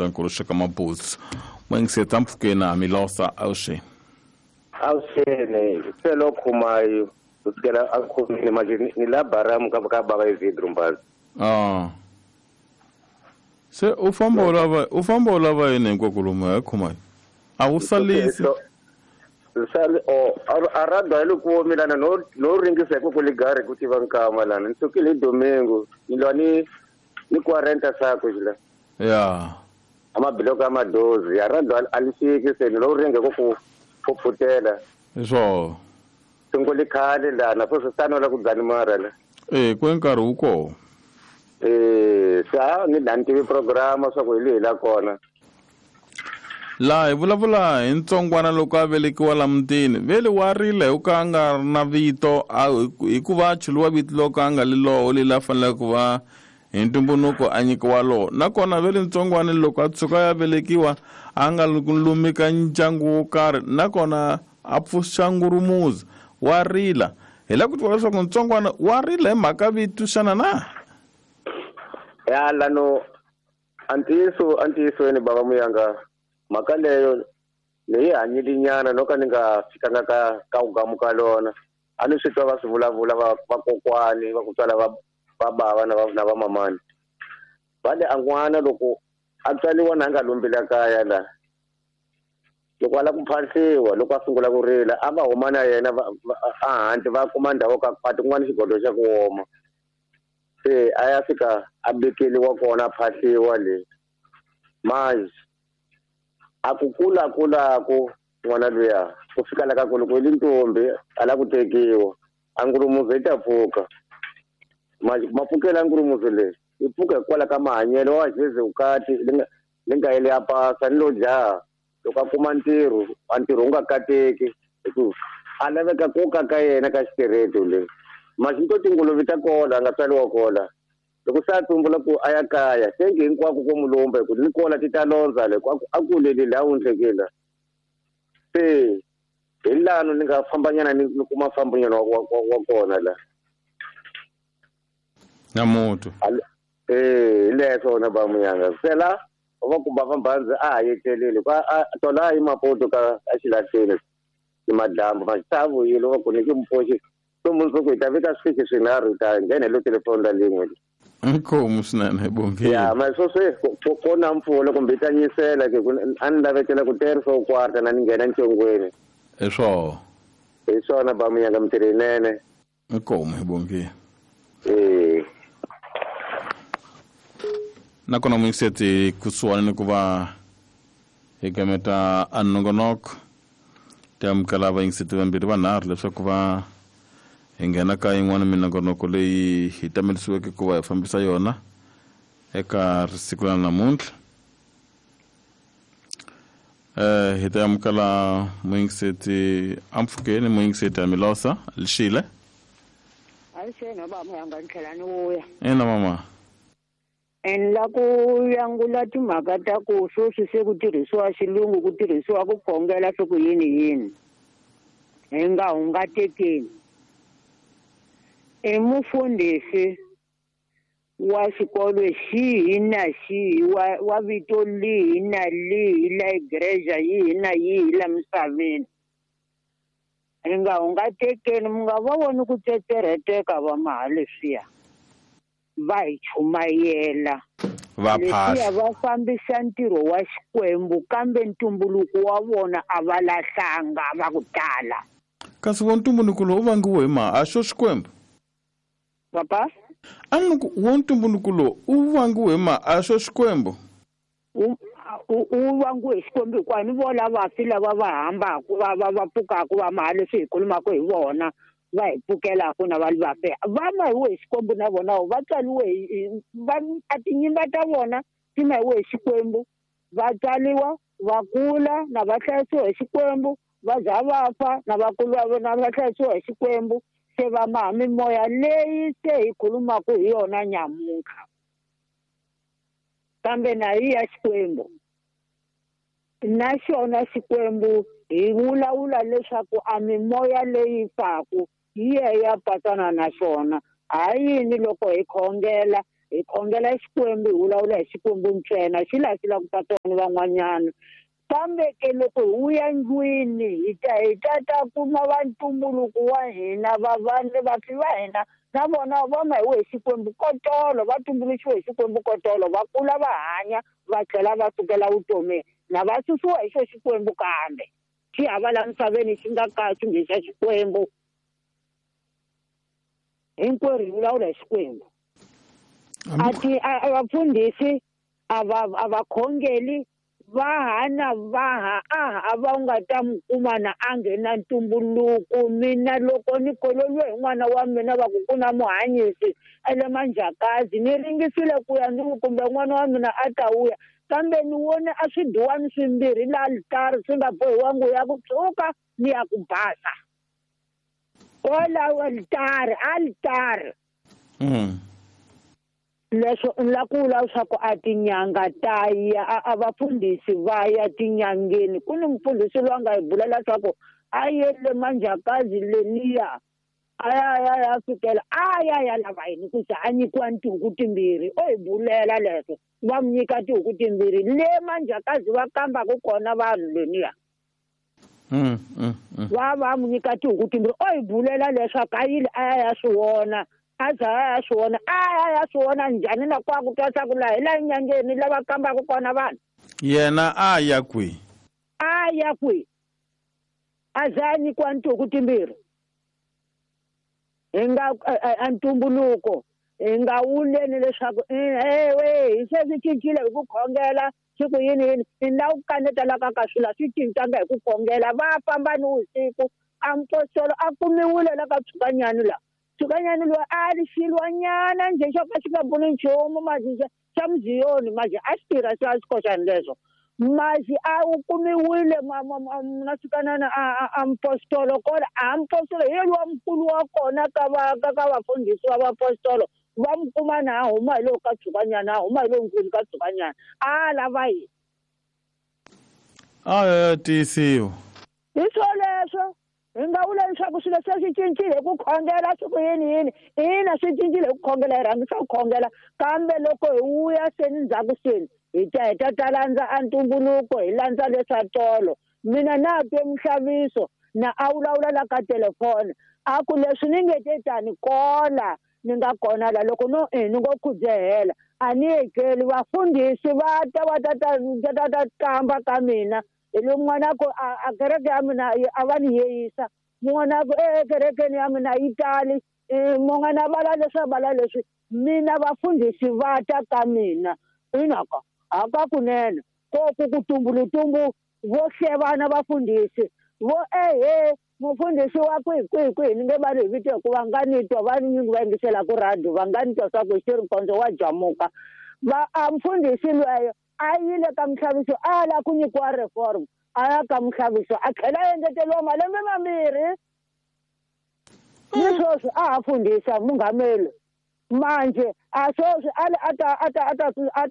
xifundzankulu xa ka Mabuza. N'wingiseti ampfhukeni a Milosa awuxeni. Awuxeni se lo khumayo kusukela a khomile manje ni la baramu ka baba Isidro Mbazi. Se u famba u lava yini hinkwako lomu ya khumayo? A wu salisi. Sali o arada ile ku milana no ringisa ku ligari ku tiva nkama lana nsukile domingo ni ni 40 sako jila. Ya. Amabiloko amadozi arada alisiki se no ringa ku phutela. So sungule khale lana futhi sanola ku dzani mara la. Ku nkarhi wu koho. Sa ni lantivi programa swa ku hi lehi la kona. Laha hi vulavula hi ntsongwana loko a velekiwa la mutini vele wa rila hi ku a nga ri na vito hikuva a chuluwa vito loko a nga li loho leli a faneleke ku va hi ntumbuluko a nyikiwa loho nakona vele ntsongwana loko a tshuka ya velekiwa a nga lumika ndyangu wo karhi nakona a pfuxa ngurumuzi wa rila hi lava ku tiva leswaku ntsongwana wa rila hi mhaka vito xana na ya lano antiyiso antiyisweni baba muyanga mhaka leyo leyi hanyile no ka ni nga fikanga ka ugamuka lona a ni swi twa va swi vulavula vakokwani va ku tswala va bava na va mamani va le an'wana loko a tswaliwa na a nga lombile kaya la loko a lava ku phahliwa loko a sungula ku rila a va huma na yena a handle va kuma ndhawu ka khwati kun'wana xigodo xa ku oma se a ya fika a bekeliwa kona a phahliwa le manje a ku kula kulaku n'wana luya ku fika la ka ku loko i li ntombi a la ku tekiwa a ngurumuzo yi ta pfuka manje mapfukela ngurumuzo leyi yi pfuka hikwalaho ka mahanyelo wa jeze vukati li nga yele ya pasa ni lo dlaha loko a kuma ntirho a ntirho wu nga kateki hikuva a laveka ku ka ka yena ka xitereto le manje ni to tinguluve ta kola a nga tswariwa kola loko se a tsumbula ku a ya kaya tengi hinkwako ko mulumba hi ku ni kola ti ta londza le a kuleli laha wundlekela se hi lano ni nga fambanyana ni kuma fambanyana wa kona la na mutu hi leswo na ba muyanga sela va ku bava mbhandzi a ha yetlelile tola a yi mapoto ka a xilahleni ni madlambu ma vuyile va ku ni ki mupoxi so mundzuku hi ta vika swifiki swinharhu hi ta nghena hi lo telefoni la lin'we. Inkomu swinene hi bongile. Ya ma swo swe ko na mpfula kumbe yi ta nyisela ke a ni lavekela ku terisa u kwarta na ni nghena ncongweni. Hi swona. Hi swona ba munyanga mintirho yinene. Inkomu hi bongile. Nakona muyingiseti kusuhani ni ku va hi gameta a nongonoko ti amukela vayingiseti vambirhi vanharhu leswaku va hi nghena ka yin'wana minongonoko leyi hi tamelisiweke ku va hi fambisa yona eka siku ra namuntlha. Hi ta amukela muyingiseti ampfhukeni muyingiseti Amilosa Lishile. Avuxeni baba muyanga ni tlhela ni vuya. Ina mama. En la ku yangula timhaka ta ku sweswi se ku tirhisiwa xilungu ku tirhisiwa ku khongela swi ku yini yini hi nga hungatekeni. I mufundhisi wa xikolo xihi na xihi wa vito lihi na lihi la igreja yihi na yihi la misaveni hi nga hungatekeni mi nga va voni ku tsetserheteka va maha leswiya va hi chumayela va phahla va fambisa ntirho wa Xikwembu kambe ntumbuluko wa vona a va lahlanga va ku tala. Kasi wo ntumbuluko lowu vangiwe hi ma a xo Xikwembu papa a ni ku wo ntumbuluko lowu u vangiwe hi ma a xo Xikwembu u vangiwe hi Xikwembu hikuva ni vona vafi lava va hambaka va pfukaka va maha leswi hi khulumaka hi vona va hi pfukelaka na va vafe va mahiwe hi Xikwembu na vona va tswaliwe a tinyimba ta vona ti mahiwe hi Xikwembu va tswaliwa va kula na va hlayisiwa hi Xikwembu va za va fa na va kula na va hlayisiwa hi Xikwembu se va maha mimoya leyi se hi khulumaka hi yona nyamuntlha kambe na yi ya Xikwembu na xona Xikwembu hi vulavula leswaku a mimoya leyi faku yi ya patsana na xona. Ha yini loko hi khongela Hi khongela Xikwembu, hi vulavula hi Xikwembu ntsena, xi laha xi lava ku ta tona van'wanyana. Kambe ke loko hi vuya ndlwini hi ta kuma va ntumbuluko wa hina, vafi va hina na vona va ma hi Xikwembu kotolo, va tumbuluxiwe hi Xikwembu kotolo, va kula va hanya va tlhela va sukela vutomini na va susiwa hi xo Xikwembu kambe xi hava la misaveni xi nga ka xi nge xa Xikwembu. Hinkwerhu hi vulavula hi Xikwembu. A vafundhisi a va khongeli vaha na vaha a va nga ta mu kuma na a nghena ntumbuluko. Mina loko ni kololiwe hi n'wana wa mina va ku ku na muhanyisi ele Manjakazi, ni ringisile ku ya ni kumbe n'wana wa mina a ta vuya, kambe ni vone a swiduwani swimbirhi la alitari swi nga bohiwangi ya ku tshuka ni ya ku basa kwalaho alitari. Leswo ni la ku vula leswaku a tinyanga ta ya a vafundhisi va ya tinyangeni. Ku ni mufundhisi loyi a nga hi bula leswaku a yele Manjakazi leniya a ya fikela a ya lava yini ku za a nyikiwa tihuku timbirhi. O hi bulela leswo va mu nyika tihuku timbirhi le Manjakazi va kambaka kona vanhu leniya. Va mu nyika tihuku timbirhi. O hi bulela leswaku a yile a ya swi vona. A za a ya swi vona, a ya swi vona njhani na kwa ku twa swa ku laha hi laha nyangeni lava kambaka kona vanhu. Yena a ya kwihi? A ya kwihi? A za a nyikiwa tihuku timbirhi. Hi nga a ntumbuluko hi nga wuleni leswaku ewe hi se swi cincile hi ku khongela swi ku yini yini. Hi la ku kaneta la ka swilo swi cincanga hi ku khongela. Va famba ni vusiku a mpostolo a kumiwile la ka Tshukanyani la. Tshukanyani loyi a ri xilwanyana njhe xo ka xi nga pfuni nchumu manje xa muziyoni manje a xi tirha xa xikoxani leswo. Manje a wu kumiwile na Tshukanana a mpostolo kona. A mpostolo hi yena wa mukulu wa kona ka vafundhisi va vapostolo. Va mu kuma na a huma hi lowu ka Tshukanyana, a huma hi lowu nkulu ka Tshukanyana. A lava yini? A ya tiyisiwa. Hi swoleswo. Hi nga vula leswaku swilo se swi cincile hi ku khongela swi ku yini yini. Ina swi cincile hi ku khongela, hi rhangisa ku khongela. Kambe loko hi vuya seni ndzhaku seni hi ta ta landza a ntumbuluko, hi landza leswa tolo. Mina na twe muxaviso na a vulavula la ka telefoni a ku leswi ni nge te tani kola ni nga kona la loko no ni ngo khudzehela a ni etleli. Vafundhisi va ta va ta kamba ka mina. Hi lo n'wana ku a kereke ya mina a va ni yeyisa. Mun'wana ku ekerekeni ya mina yi tali. Mun'wana vala leswi a vala leswi. Mina vafundhisi va ta ka mina. Inaka haka kunene ko ku tumbulutumbu vo hlevana vafundhisi vo ehe mufundhisi wa kwihi kwihi kwihi ni nge va ni hi vito hikuva nga ni twa va ni va yingiselaka radio va nga ni twa swa ku xi ri nkondzo wa jamuka. Va a mufundhisi lweyo a yile ka muxaviso a la ku nyikiwa reform, a ya ka muxaviso a tlhela a engeteriwa malembe mambirhi. Ni sweswi a ha fundhisa munghameli. Manje a sweswi a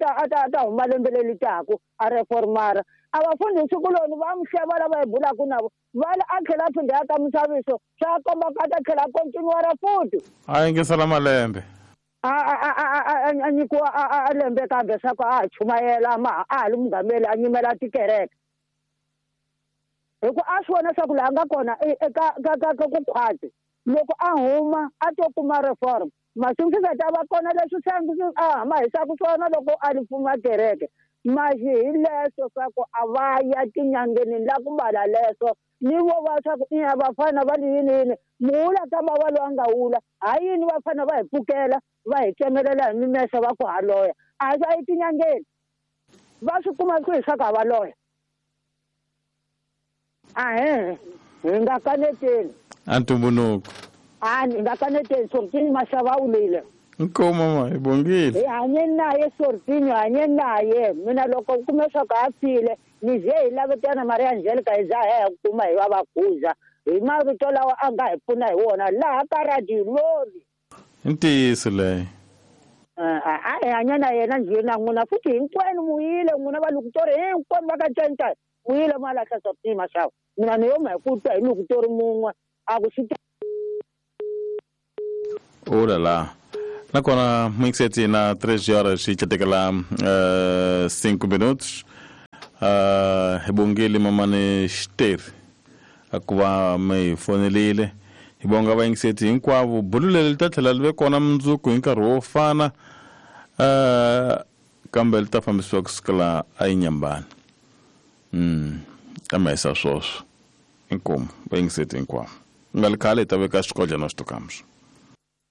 ta huma lembe leri taka a reformara. A vafundhisi kuloni va mu hleva lava hi bulaka na vo va a tlhela a phinda ya ka muxaviso swa komba ku a ta tlhela a continuara futhi. A yingisela malembe. A nyikiwa a lembe kambe swa ku a ha chumayela ma a ha ri munghameli a nyimela tikereke. Hi ku a swi vona swa ku laha nga kona eka ka ku khwatsi loko a huma a to kuma reform. Masiku swi nga ta va kona leswi a hama hisaka swona loko a ri pfuma kereke. Masi hi leswo swa ku a va ya tinyangeni la ku mbala leswo ni vo va swa ku ina vafana va ri yini yini muwula ka bava loyi a nga wula. Ha yini vafana va hi pfukela va hi tsemelela hi mimese va ku ha loya a swi a yi tinyangeni va swi kuma ku hi swa ku ha va loya. Ahe hi nga kaneteni a ntumbuluko. A ni nga kaneteni Sortini Mashava a wulile. Inkomu mama, hi bongile. Hi hanye naye Sortini, hanye naye. Mina loko u kume swa ku a file ni ze hi lavetana Maria Angelica hi za hi kuma hi va va khuza hi mavito lawa a nga hi pfuna hi wona laha ka radio lori. I ntiyiso leyo. A hi hanya na yena njhe na n'wina futhi hinkwenu muyile n'wina va Lukutori hinkwenu va ka Ncentsa muyile ma lahla Sortini Mashava. Mina ni yo ma hi ku twa hi Lukutori mun'we a ku swi Oh la la. Nakona muyingiseti na 3 horas i catekela 5 minutos. Hi bongile mamani Xiteri a ku va mi hi fonelile. Hi bonga vayingiseti hinkwavo. Bulu leri li ta tlhela li ve kona mundzuku hi nkarhi wo fana, kambe li ta fambisiwa kusukela a Inyambani. Ta ma yisa swoswo. Inkomu vayingiseti hinkwavo. Nga li khale hi ta veka xikodlana xitokamuso.